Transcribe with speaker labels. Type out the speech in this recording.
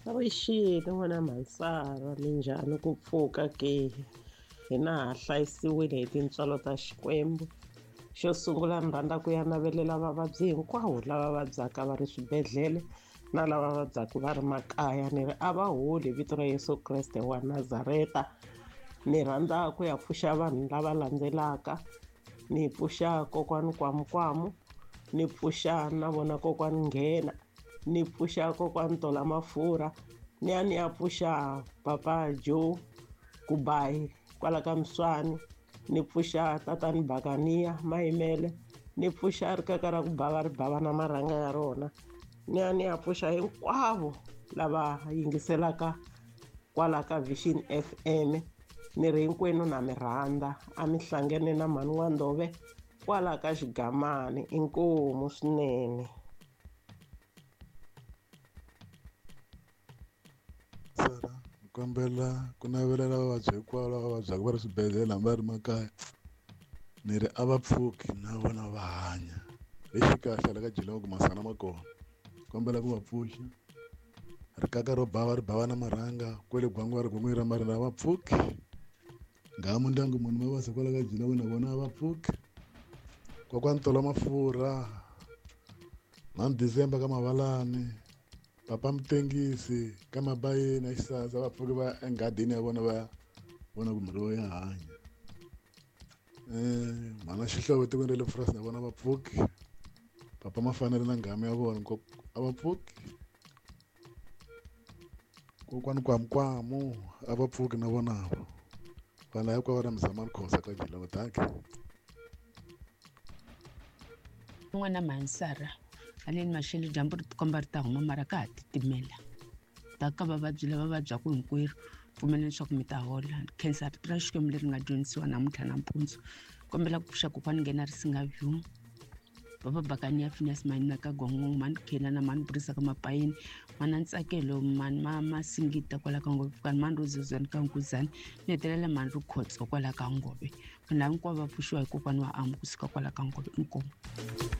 Speaker 1: Avuxeni n'wana Mhansara, minjhani ku pfuka ke? Hina ha hlayisiwile hi tintswalo ta Xikwembu. Xo sungula ni rhandza ku ya navelela vavabyi hinkwavo lava vabyaka va ri swibedhlele na lava vabyaka va ri makaya, ni ri a va holi hi vito ra Yesu Kreste wa Nazareta. Ni rhandza ku ya pfuxa vanhu lava landzelaka, ni pfuxa kokwani Kwamukwamu, ni pfuxa na vona kokwani Nghena, ni pfuxa kokwani Tola Mafurha, ni ya ni ya pfuxa papa Joe Kubayi kwala ka Muswani, ni pfuxa tatani Bakaniya Mayimele, ni pfuxa rikaka ra ku bava ri bava na marhanga ya rona, ni ya ni ya pfuxa hinkwavo lava yingiselaka kwala ka Vision FM. Ni ri hinkwenu na mi rhandza, a mi hlangene na mhani wa Ndove kwala ka Xigamani, inkomu swinene.
Speaker 2: Sara, ni kombela ku navelela vavabyi hinkwavo lava vabyaka va ri swibedhlele hambi va ri makaya, ni ri a va pfuki na vona va hanya. Lexi kahle hala ka Geelong ku masana ma kona, kombela ku va pfuxa. Rikaka ro bava ri bava na marhanga, kwele gwangwa ri gwangwa ra marina a va pfuki. Nghamu ndyangu munhu ma vasa kwala ka Geelong na vona a va pfuki. Kokwani Tola Mafurha, mhani December ka Mavalani, papa Mutengisi ka Mabayeni a Xisasa, va pfuki va enghadini ya vona va vona ku miroho ya hanya. Mhana Xihlovo etikweni ra le Purasi na vona va pfuki. Papa Mafanele na nghamu ya vona a va pfuki. Kokwani Kwamukwamu a va pfuki na vona vo. Vanhu hinkwavo ra Mzamani Khosa ka Geelong, dankie.
Speaker 3: N'wana Mhansara, haleni maxelo dyambu ri tikomba ri ta huma mara ka ha titimela. Ta ka vavabyi lava vabyaka hinkwerhu, pfumela leswaku mi ta hola. Khensa rito ra Xikwembu leri nga dyondzisiwa namuntlha nampundzu. Kombela ku pfuxa kokwani nghena ri singa view. Papa Bakani ya Phineas Mani ka Gongo, Mani Khela na Mani Burisa ka Mapayeni, Mana Ntsakelo, Mani Masingita kwala ka Ngove, Pfukani Mani Rozozani ka Nkuzani, ni hetelela Mani Rikhotso kwala ka Ngove. Vanhu lava hinkwavo va pfuxiwa hi kokwani wa Amu kusuka kwala ka Ngove. Inkomu.